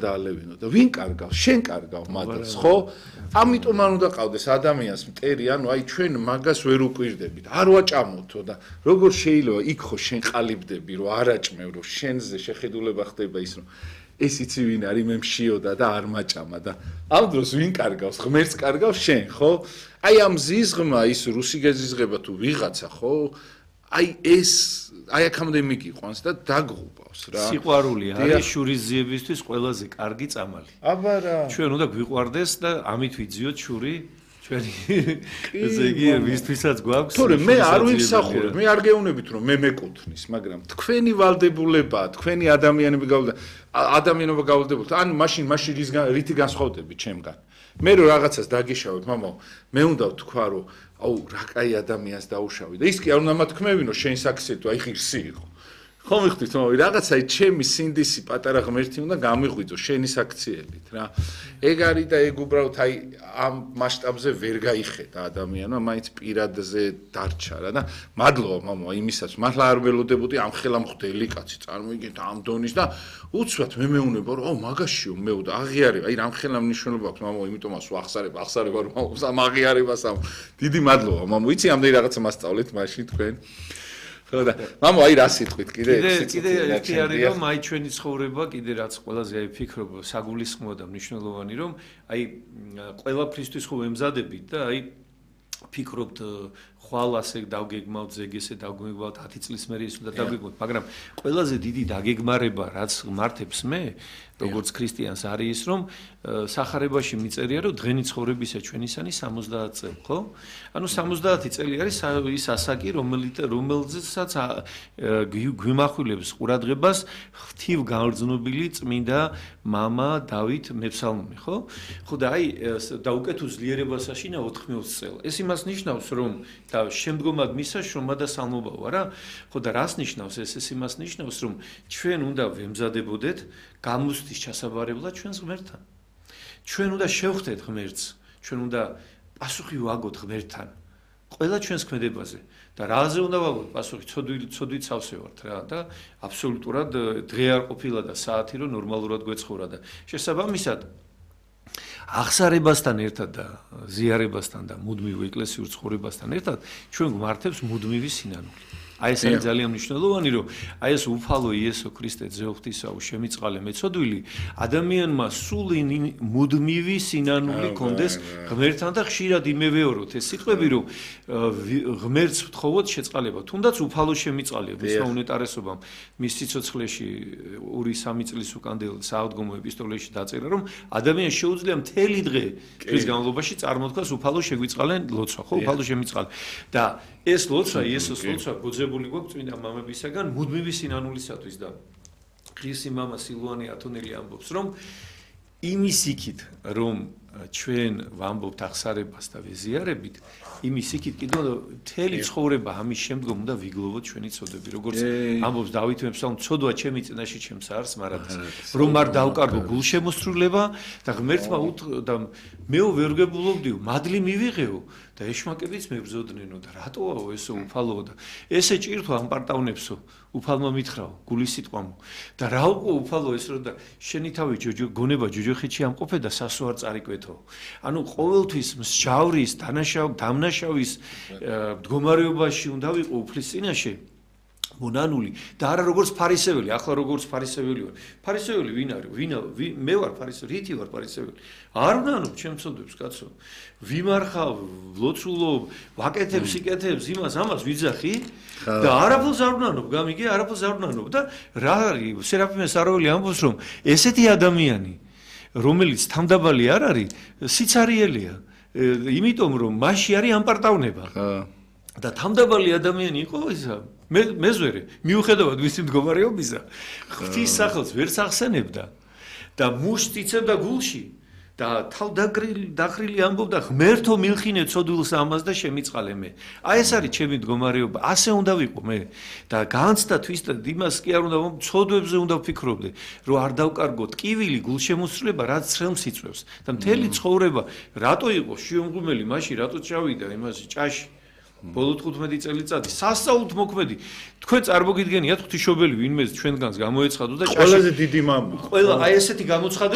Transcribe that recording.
დაალევინო და ვინ კარგავს? შენ კარგავ მაგას, ხო? ამიტომ არ უნდა ყავდეს ადამიანს მტერი, ანუ აი ჩვენ მაგას ვერ უკვირდებით. არ ვაჭამოთო და როგორ შეიძლება იქ ხო შენ ყალიბდები, რომ არაჭმევ, რომ შენზე შეხედულება ხდება ის, რომ ეს იცი ვინ არის, მე მშიოდა და არ მაჭამა და ამ დროს ვინ კარგავს? ღმერთს კარგავს შენ, ხო? აი ამ ზიზღმა ის რუსი გეზიზღება თუ ვიღაცა, ხო? აი ეს აი აქამდე მიგიყვანს და დაგღუბავს რა. სიყვარული არის შურიზიებისთვის ყველაზე კარგი წამალი. აბა რა. ჩვენ უნდა გვიყვარდეს და ამით ვიძიოთ შური ჩვენი ესე იგი ვისთვისაც გვაქვს. თორემ მე არ ვიმსახურებ, მე არ გეუბნებით რომ მე მეკუთვნის, მაგრამ თქვენი ვალდებულებაა, თქვენი ადამიანები ადამიანობა გავალდებულთ. ან მაშინ რითი განსხვავდები ჩემგან. მე რო რაღაცას დაგიშავებ, მამაო, მე უნდა ვთქვა რომ აუ რა კაი ადამიანს დაუშავი და ის კი არ უნდა მათქმევინო შენ საქსეთო აი ღირსი იყო ხო მიხდით მამაო რაღაცა ჩემი სინდისი პატარა ღმერთი უნდა გამიღვიძო შენი საქციელით რა ეგ არის და ეგ უბრალოდ აი ამ მასშტაბზე ვერ გაიხედა ადამიანმა მაინც პირადზე დარჩა რა და მადლობა მამაო იმისაც მართლა არ ველოდებოდი ამ ხელა მხვდელი კაცი წარმოიგეთ ამ დონის და უცბად მე მეუნება რომ აუ მაგაშიო მეუ და აღიარება აი რამ ხელა მნიშვნელობა აქვს მამაო იმიტომაც ახსარება რომ ამ აღიარებას ამ დიდი მადლობა მამაო იცი ამდენი რაღაცა მასწავლეთ მაშინ თქვენ ხო და მამაო აი რა სიტყვით კიდე ერთი არის რომ აი ჩვენი ცხოვრება კიდე რაც ყველაზე აი ფიქრობ საგულისხმოა და მნიშვნელოვანი რომ აი ყველაფრისთვის ხო ემზადებით და აი ფიქრობთ ხვალ ასე დავგეგმავთ ზეგესე დავგეგმავთ 10 წლის მერე ის უნდა დავგეგმოთ მაგრამ ყველაზე დიდი დაგეგმარება რაც მართებს მე როგორც ქრისტიანს არის ის რომ სახარებაში მიწერია რომ დღენი ცხოვრებისა ჩვენისანი 70 წელი ხო? ანუ 70 წელი არის ის ასაკი რომელზეც გვიმახვილებს ყურადღებას ღვთივ განრძნობილი წმინდა მამა დავით მეფსალმონი ხო? ხო და აი და უკეთ უძლიერებას აშინა 4 წელი. ეს იმას ნიშნავს რომ და შემდგომად მისა შრომა და სალმობა ვარ რა? ხო და რას ნიშნავს ეს იმას ნიშნავს რომ ჩვენ უნდა ვემზადებოდეთ გამოსთვის ჩასაბარებლად ჩვენს ღმერთთან. ჩვენ უნდა შევხვდეთ ღმერთს, ჩვენ უნდა პასუხი ვაგოთ ღმერთთან. ყველა ჩვენს ქმედებაზე და რაზე უნდა ვაგოთ პასუხი, ცოდვით სავსე ვართ რა და აბსოლუტურად დღე არ ყოფილა და საათი რომ ნორმალურად გვეცხოვრა და შესაბამისად აღსარებასთან ერთად და ზიარებასთან და მუდმივ ეკლესიურ ცხოვრებასთან ერთად ჩვენ გვმართებს მუდმივი სინანული. აი ეს არის ძალიან მნიშვნელოვანი რომ აი ეს უფალო იესო ქრისტე ძეოღვთისაო შემიწყალე მეწოდვილი ადამიანმა სულ მუდმივი სინანული კონდეს ღმერთთან და ხშირად იმევეოროთ ეს სიტყვები რომ ღმერთს ვთხოვოთ შეწყალება თუნდაც უფალო შემიწყალია მისმა უნეტარესობამ მის სიცოცხლეში 2-3 წლის უკანდელ საავდგომო ეპისტოლეში დაწერა რომ ადამიანს შეუძლია მთელი დღე დღის განმავლობაში წარმოთქვას უფალო შეგვიწყალენ ლოცვა ხო უფალო შემიწყალე და ეს ლოცვა იესოს ლოცვა გოძებული გვაქვს წმინდა მამებისაგან მუდმივი სინანულისათვის და ღირსი მამა სილვანი ათონელი ამბობს რომ იმის იქით რომ ჩვენ ვამბობთ აღსარებას და ვეზიარებით იმის იქით კიდევ მთელი ცხოვრება ამის შემდგომ უნდა ვიგლოვოთ ჩვენი ცოდები როგორც ამბობს დავით მეფსალმონი ცოდვა ჩემი წინაშე ჩემს არს მარადას რომ არ დავკარგო გულშემოსრულება და ღმერთმა და მეო ვერ გებულობდიო მადლი მივიღეო და ეშმაკებიც მებრძოდნენ და რატოაო ესო უფალოო და ესე ჭირთო ამ პარტავნებსო უფალმა მითხრაო გულის სიტყვამო და რა უკვე უფალო ეს რომ და შენი თავი გონება ჯოჯოხეთში ამყოფე და სასო არ წარიკვეთო ანუ ყოველთვის მსჯავრის დამნაშავის მდგომარეობაში უნდა ვიყო უფლის წინაშე მონანული და არა როგორც ფარისეველი ახლა როგორც ფარისეველი ვარ ფარისეველი ვინ არის მე ვარ ფარისეველი რითი ვარ ფარისეველი არ ვნანობ ჩემს ცოდვებს კაცო ვიმარხავ ლოცულობ ვაკეთებ სიკეთებს იმას ამას ვიძახი და არაფერს არ ვნანობ გამიგე არაფერს არ ვნანობ და რა არის სერაფიმე სარაველი ამბობს რომ ესეთი ადამიანი რომელიც თამდაბალი არ არის სიცარიელია იმიტომ რომ მასში არის ამპარტავნება და თამდაბალი ადამიანი იყო ისა მეზვერე მიუხედავად ვისი მდგომარეობისა ღვთის სახელს ვერ სახსენებდა და მუშს იცებდა გულში და თავ დახრილი ამბობდა ღმერთო მილხინე ცოდვილს ამას და შემიწყალე მე აი ეს არის ჩემი მდგომარეობა ასე უნდა ვიყო მე და განცდა თვისად იმას კი არ უნდა ცოდვებზე უნდა ვფიქრობდე რომ არ დავკარგო ტკივილი გულშემოსრულება რაც ცრემლს იწვევს და მთელი ცხოვრება რატო იყო შიომღვიმელი მაშინ რატო ჩავიდა იმაში ჭაში ბოლო 15 წელიწადი სასწაულთ მოქმედი თქვენ წარმოგიდგენიათ ღვთისმშობელი ვინმე ჩვენგანს გამოეცხადო და ჭაში ყველაზე დიდი მამა ყველა აი ესეთი გამოცხადება